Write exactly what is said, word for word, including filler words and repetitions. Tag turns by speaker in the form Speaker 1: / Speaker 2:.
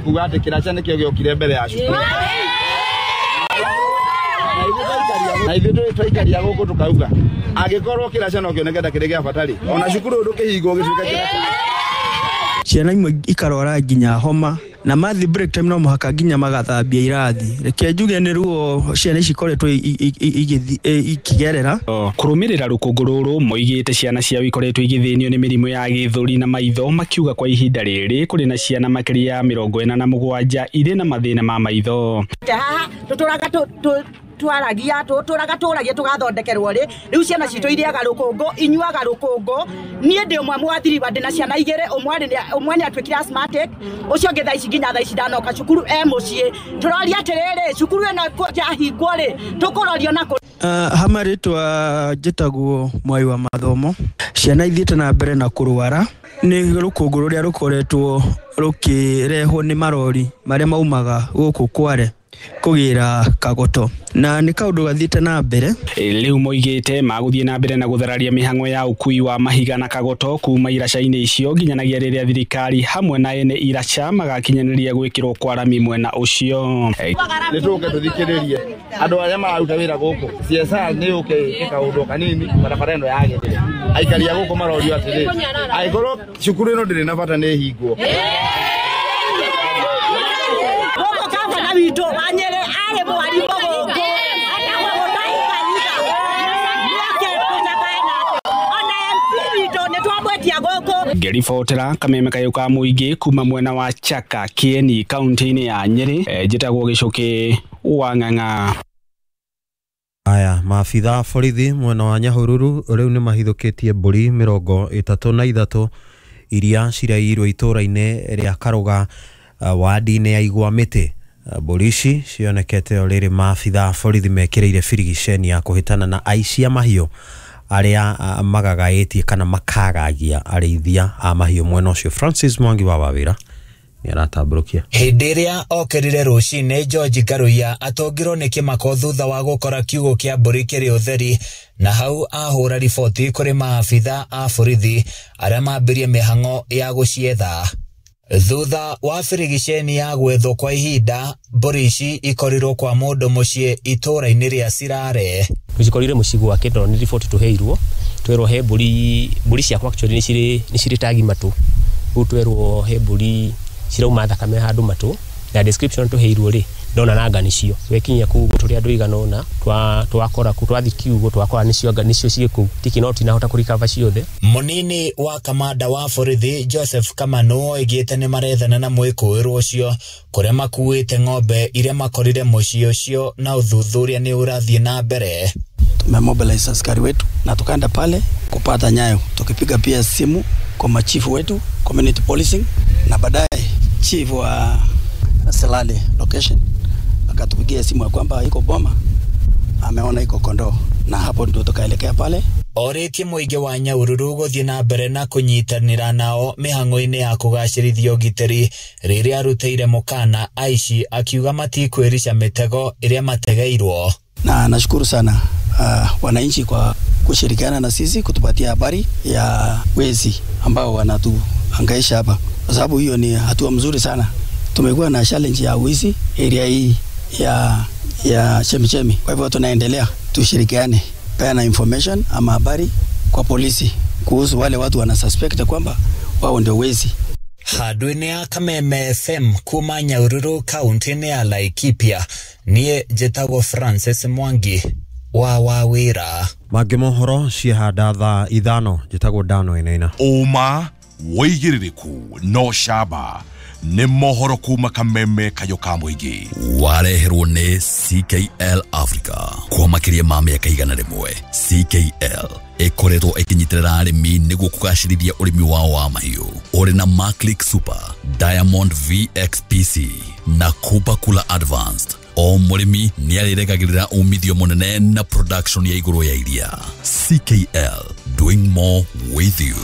Speaker 1: Kuga atĩ kĩraca nĩkĩo gĩokire mbere ya cukuru na ithuĩ twaikaria gũkũ tukauga angĩkorwo kĩraca no kĩoneke ta kĩrĩ gĩa bata rĩ, ona cukuru ndũkĩhingwo gĩtuĩke kĩraca.
Speaker 2: Ciana imwe ikarwara nginya homa na mathi break time no mũhaka nginya magathambia irathi. Reke njuge nĩ ruo ciana ici ikoretwo ikigerera.
Speaker 3: Kũrũmĩrĩra rũkũngũ rũrũ moigĩte ciana ciao ikoretwo igĩthĩnio nĩ mĩrimũ ya gĩthũri na maitho, makiuga kwa ihinda rĩrĩ kũrĩ na ciana makĩria ya mĩrongo ĩna na mũgwanja irĩ na mathĩna ma maitho.
Speaker 4: Haha tũtũraga twaragia tũtũraga tũragia tũgathondekerwo rĩ, rĩu ciana citũ irĩaga rũkũngũ, inyuaga rũkũngũ. Niĩ ndĩ ũmwe mwathiriwa, ndĩ na ciana igĩrĩ, ũmwe nĩ atuĩkire asthmatic, ũcio ũngĩ thaa ici nginya thaa ici ndanoka cukuru e mũciĩ. Tũroria atĩrĩrĩ, cukuru ĩno yahingwo rĩ, tũkũrorio nakũ?
Speaker 2: Hama rĩtwa njĩtagwo Mwai wa Mathomo. Ciana ithiĩte na mbere na kũrwara nĩ rũkũngũ rũrĩa rũkoretwo rũkĩrehwo nĩ marori marĩa maumaga gũkũ Kware kũgĩra Kagoto, na nĩ kaũndũ gathiĩte na mbere.
Speaker 3: Rĩu moigĩte magũthiĩ na mbere na gũthararia mĩhang'o ya ũkui wa mahiga na Kagoto kuma iraca-inĩ icio nginyanagia rĩrĩa thirikari hamwe na ene iraca magakinyanĩria gwĩkĩrwo kwa rami mwena ũcio.
Speaker 1: Nĩ tũke tũthikĩrĩrie andũ arĩa mararuta wĩra gũkũ. C S R nĩ yũke ĩke kaũndũ kanini barabara ĩno yagĩrĩre. Aikari a gũkũ marorio atĩrĩrĩ, angĩkorwo cukuru ĩno ndĩrĩ na bata nĩ ĩhingwo.
Speaker 4: Witũ wa Nyĩrĩ arĩ mwarimũ gũkũ, etagwo Mũtahi Kahiga. Nĩoke tũcakae nake. Ona M P witũ nĩtwamwĩtia gũkũ.
Speaker 3: Ngĩribotera kameme kayũ ka mũingĩ kuma mwena wa Chaka Kieni kaunti-inĩ ya Nyĩrĩ, njĩtagwo Gĩcũkĩ wa Ng'ang'a.
Speaker 5: Aya, maabitha borithi mwena wa Nyahururu rĩu nĩ mahithũkĩtie mbũri mĩrongo ĩtatũ na ithatũ iria ciraiyirwo itũũra-inĩ rĩa Karuga wadi-inĩ ya Igwa Mĩtĩ. Mbũri ici cionekete o rĩrĩ maabitha borithi mekĩrĩire birigiceni ya kũhĩtana na aici a mahiũ arĩa magagaĩtie kana makagagia arĩithia a mahiũ mwena ũcio. Francis Mwangi wa Wawĩra nĩ aratambũrũkia.
Speaker 6: Hĩndĩ ĩrĩa okĩrire rũcinĩ, George Karuiya atũngirwo nĩ kĩmako thutha wa gũkora kiugũ kĩa mbũri kĩrĩ ũtheri, na hau ahũra riboti kũrĩ maabitha a borithi arĩa mambirie mĩhang'o ya gũcietha. Thutha wa birigiceni ya gwethwo kwa ihinda, mbũri ici ikorirwo kwa mũndũ mũciĩ itũũra-inĩ rĩa Sirare.
Speaker 7: Tũcikorire mũciĩ gwake tondũ nĩ riboti tũheirwo, twerwo he mbũri, mbũri ciakwa actually nĩ cirĩ nĩ cirĩ tagi matũ. Rĩu twerwo he mbũri cirauma thakame handũ matũ, na description tũheirwo rĩ, ndona nanga nĩcio. Twekinyia kũu tũrĩ andũ igana ũna, twakora kũu, twathiĩ kiugũ twakora nĩcio nĩcio ciĩ kũu. Tiki no tinahota kũrikaba ciothe.
Speaker 6: Mũnini wa kamanda wa borithi Joseph Kamanu oigĩte nĩ marethana na mwĩkũĩrwo ũcio kũrĩa makuĩte ng'ombe iria makorire mũciĩ ũcio, na ũthuthuria nĩ ũrathiĩ na mbere.
Speaker 8: Tumemobilize askari wetu na tukaenda pale kupata nyayo, tukipiga pia simu kwa machifu wetu community policing, na baadaye chief wa Selale location akatupigia simu ya kwamba iko boma, ameona iko kondoo, na hapo ndio tukaelekea pale.
Speaker 6: Orĩtie mũingĩ wa Nyahururu gũthiĩ na mbere na kũnyitanĩra nao mĩhang'o-inĩ ya kũgacĩrithia ũgitĩri rĩrĩa arutĩire mũkana aici akiuga matikwĩrica mĩtego ĩrĩa mategeirwo.
Speaker 8: Na nashukuru sana uh, wananchi kwa kushirikiana na sisi kutupatia habari ya wezi ambao wanatuhangaisha hapa, kwa sababu hiyo ni hatua mzuri sana. Tumekuwa na challenge ya wizi area hii ya ya chemichemi. Kwa hivyo tunaendelea tushirikiane, peana information ama habari kwa polisi kuhusu wale watu wana suspect kwamba wao ndio wezi.
Speaker 6: Handũ-inĩ ya Kameme F M kuma Nyahururu kaunti-inĩ ya Laikipia, niĩ njĩtagwo Francis Mwangi wa Wawĩra.
Speaker 5: Mangĩ mohoro ciehanda thaa ithano, njĩtagwo Dano Inaina.
Speaker 9: Ũma wĩigĩrĩrĩku no camba nĩ mohoro kuma Kameme kayũ ka mũingĩ.
Speaker 10: Wareherwo nĩ C K L Africa kwa makĩria ma mĩaka igana rĩmwe. C K L ĩkoretwo ĩkĩnyitĩrĩra arĩmi nĩguo kũgacĩrithia ũrĩmi wao wa mahiũ. Ũrĩ na Maclick Super, Diamond V X P C na Kupa Kula Advanced. O mũrĩmi nĩarĩregagĩrĩra umithio mũnene na production ya igũrũ ya iria. C K L, doing more with you.